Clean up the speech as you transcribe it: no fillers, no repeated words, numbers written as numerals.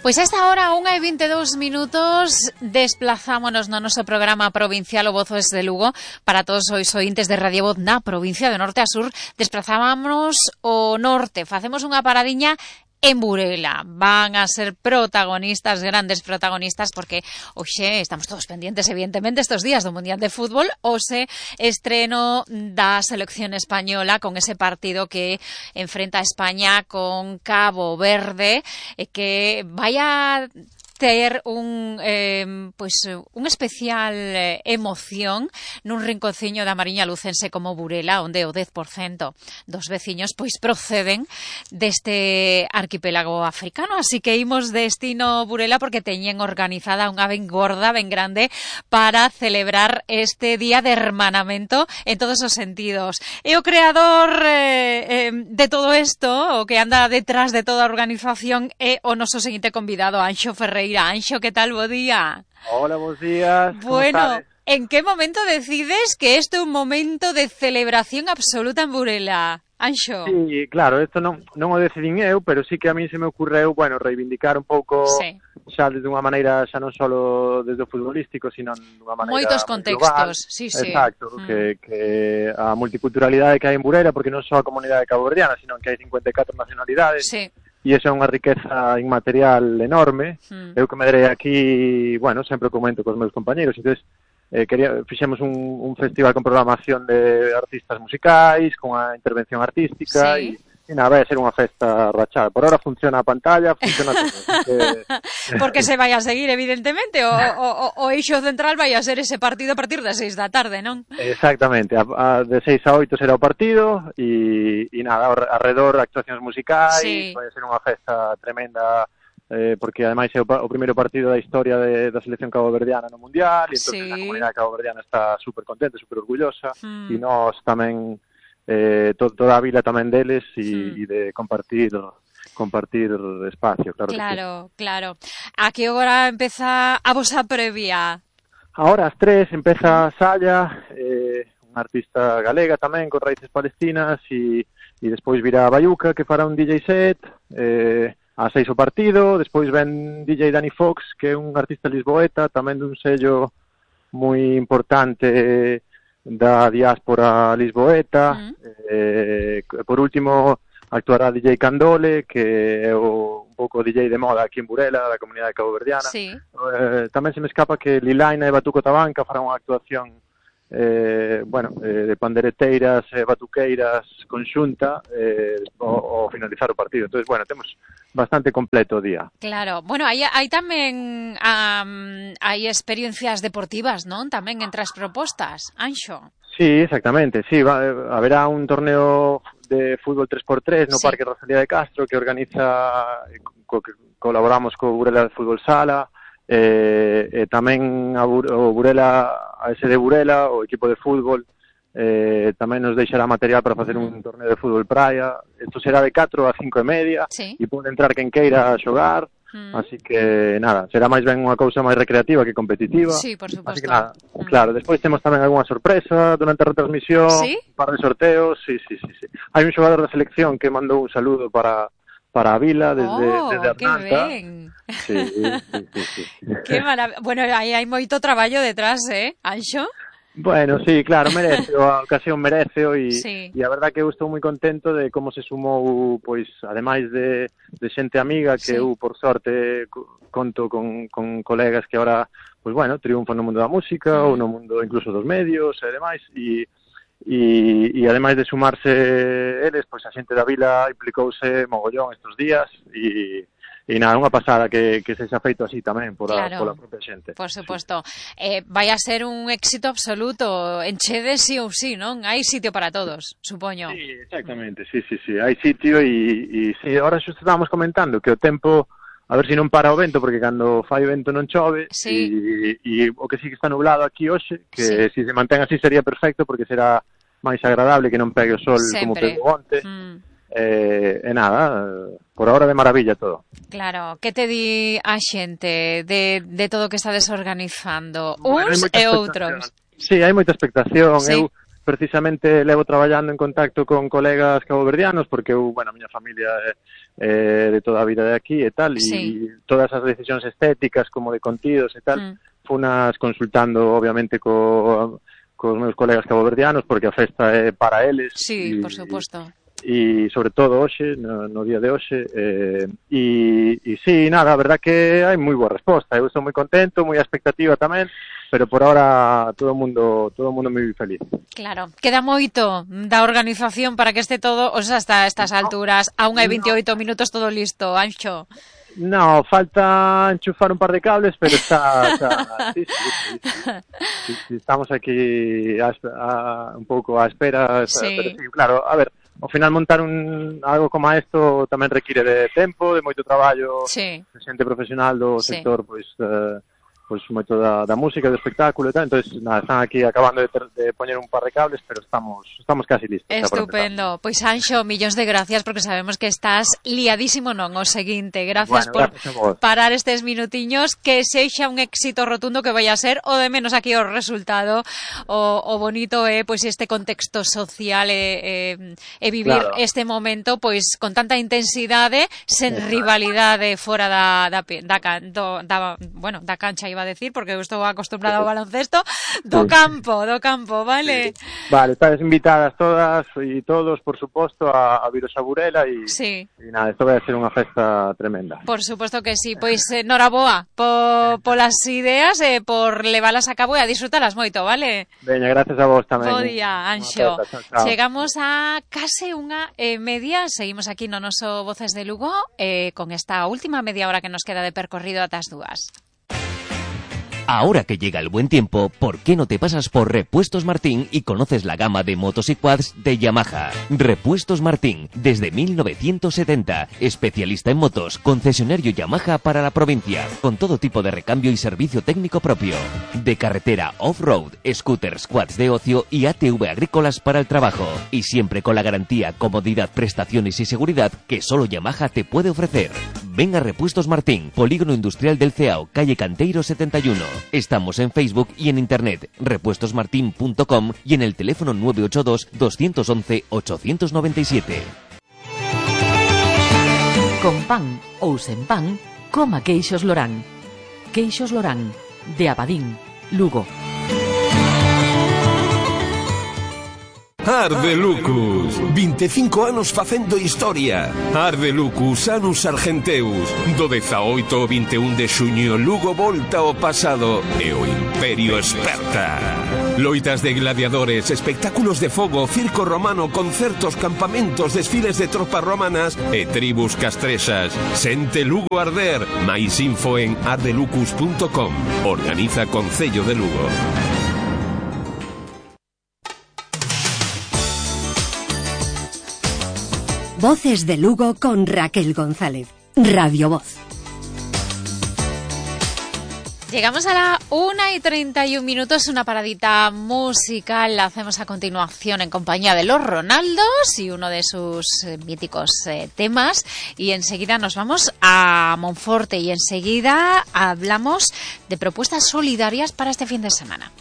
Pois a esta hora, 1:22, desplazámonos no noso programa provincial O Voz de Lugo. Para todos os ointes de Radio Voz na provincia de norte a sur, desplazámonos ao norte. Facemos unha paradiña en Burela. Van a ser protagonistas, grandes protagonistas, porque hoxe estamos todos pendientes, evidentemente, estos días do Mundial de Fútbol, hoxe estreno da selección española con ese partido que enfrenta a España con Cabo Verde, que vai a ter un especial emoción nun rinconciño da Mariña Lucense como Burela, onde o 10% dos veciños pois proceden deste arquipélago africano, así que imos destino Burela porque teñen organizada unha ben gorda, ben grande, para celebrar este día de hermanamento en todos os sentidos. E o creador de todo isto, o que anda detrás de toda a organización, é o noso seguinte convidado, Anxo Ferreira. Anxo, ¿qué tal? Bo día. Hola, buenos días. Bueno, ¿en qué momento decides que este é un momento de celebración absoluta en Burela, Anxo? Sí, claro, isto non o decidín eu, pero sí que a mí se me ocurreu, reivindicar un pouco, xa desde unha maneira, xa non só desde o futbolístico, sino dunha maneira moitos contextos, global. sí. Exacto, que a multiculturalidade que hai en Burela, porque non só a comunidade caboverdiana, sino que hai 54 nacionalidades. Sí. E iso é unha riqueza inmaterial enorme. Eu que me derei aquí, sempre o comento cos meus compañeros, entonces fixemos un festival con programación de artistas musicais, con a intervención artística, e nada, vai a ser unha festa rachada. Por ahora funciona a pantalla, funciona todo. Porque se vai a seguir, evidentemente, o eixo central vai a ser ese partido a partir das 6 da tarde, non? Exactamente, de 6 a 8 será o partido, e nada, alrededor actuacións musicais, vai a ser unha festa tremenda, porque ademais é o primeiro partido da historia da selección caboverdiana no Mundial, e entón a comunidade caboverdiana está super contenta, super orgullosa, e nós tamén, toda a vila tamén deles, e de compartir espacio, claro. Claro. A que hora empeza a vosa previa? Ahora ás 3 empeza Salla, unha artista galega tamén con raíces palestinas, e despois virá a Bayuca, que fará un DJ set, ás 6 o partido, despois ven DJ Danny Fox, que é un artista lisboeta, tamén dun sello moi importante da diáspora lisboeta. Por último actuará DJ Candole, que é un pouco DJ de moda aquí en Burela, da comunidade caboverdiana. Tamén se me escapa que Lilaina e Batuco Tabanca farán unha actuación de pandereteiras e batuqueiras conxunta ao finalizar o partido. Entonces, temos bastante completo o día. Claro. Bueno, hai tamén hai experiencias deportivas, non? Tamén entre as propostas, Anxo. Sí, exactamente. Sí, haberá un torneo de fútbol 3x3 no Parque Rosalía de Castro que organiza, que colaboramos co Burela de Fútbol Sala, e tamén o Burela, a ese de Burela, o equipo de fútbol, tamén nos deixará material para facer un torneo de fútbol praia. Isto será de 4 a 5:30 e pode entrar quen queira xogar, así que nada, será máis ben unha cousa máis recreativa que competitiva. Sí, por suposto. Así que nada, claro, despois temos tamén algunha sorpresa durante a retransmisión, un par de sorteos, sí. Hai un xogador da selección que mandou un saludo para a vila desde Arnanta. Que ben. Sí. Que maravilla. Bueno, aí hai moito traballo detrás, Anxo? Bueno, sí, claro, merece, a ocasión merece, e a verdad que eu estou moi contento de como se sumou, pois, ademais de xente amiga, que eu, por sorte, conto con colegas que agora, pois, triunfan no mundo da música, ou no mundo incluso dos medios e demais, e ademais de sumarse eles, pois a xente da vila implicouse mogollón estes días, e nada, unha pasada que se xa feito así tamén pola propia xente. Por suposto. Vai a ser un éxito absoluto, enchede sí ou sí, non? Hai sitio para todos, supoño. Sí, exactamente, sí, hai sitio, e sí, ahora xusto estábamos comentando que o tempo, a ver se non para o vento, porque cando fai vento non chove, e o que sí que está nublado aquí hoxe, que se mantén así sería perfecto, porque será máis agradable que non pegue o sol como pegou onte. E nada, por ahora de maravilla todo. Claro, que te di a xente de todo o que estades organizando, uns e outros? Sí, hai moita expectación. Eu precisamente levo traballando en contacto con colegas caboverdianos, porque eu, a miña familia de toda a vida de aquí e tal, sí. e todas as decisións estéticas como de contidos e tal, funas consultando obviamente cos meus colegas caboverdianos, porque a festa é para eles. Sí, por suposto. E sobre todo hoxe, no día de hoxe, e sí, nada, a verdad que hai moi boa resposta, eu estou moi contento, moi a expectativa tamén, pero por ahora todo o mundo moi feliz. Claro, queda moito da organización para que este todo, o sea, hasta estas alturas, a 1:28 minutos todo listo, Anxo. No, falta enchufar un par de cables, pero está sí, estamos aquí un pouco á espera, sí. Pero sí, claro, a ver, ao final montar algo como isto tamén require de tempo, de moito traballo, sí. de xente profesional do sector, pois moito da música, do espectáculo e tal, entonces nada, están aquí acabando de poñer un par de cables, pero estamos casi listos. Estupendo. Pois Anxo, millóns de gracias, porque sabemos que estás liadísimo non o seguinte. Gracias por parar estes minutiños, que sexa un éxito rotundo, que vai a ser o de menos aquí o resultado, o bonito é pois este contexto social e vivir este momento pois con tanta intensidade, sen rivalidade fora da cancha, iba a decir, porque eu estou acostumbrada ao baloncesto, do campo, vale? Sí. Vale, estás invitadas todas e todos, por suposto, a viros a Burela e nada, isto vai a ser unha festa tremenda. Por suposto que sí, pois noraboa polas ideas e por levalas a cabo e a disfrutalas moito, vale? Veña, gracias a vos tamén. Bo día, Anxo. Chegamos a case 1:30, seguimos aquí no noso Voces de Lugo, con esta última media hora que nos queda de percorrido ata as 2. Ahora que llega el buen tiempo, ¿por qué no te pasas por Repuestos Martín y conoces la gama de motos y quads de Yamaha? Repuestos Martín, desde 1970, especialista en motos, concesionario Yamaha para la provincia, con todo tipo de recambio y servicio técnico propio. De carretera off-road, scooters, quads de ocio y ATV agrícolas para el trabajo. Y siempre con la garantía, comodidad, prestaciones y seguridad que solo Yamaha te puede ofrecer. Ven a Repuestos Martín, Polígono Industrial del Ceao, calle Canteiro 71. Estamos en Facebook y en internet, repuestosmartin.com y en el teléfono 982 211 897. Con pan ou sen pan, coma Queixos Lorán. Queixos Lorán, de Abadín, Lugo. Ardelucus, 25 anos facendo historia. Ardelucus, Anus Argenteus. Do 18 ao 21 de xuño, Lugo volta ao pasado e o Imperio esperta. Loitas de gladiadores, espectáculos de fogo, circo romano, concertos, campamentos, desfiles de tropas romanas e tribus castrexas. Sente Lugo arder. Mais info en ardelucus.com. Organiza Concello de Lugo. Voces de Lugo con Raquel González. Radio Voz. Llegamos a la 1:31, una paradita musical. La hacemos a continuación en compañía de Los Ronaldos y uno de sus míticos temas. Y enseguida nos vamos a Monforte y enseguida hablamos de propuestas solidarias para este fin de semana.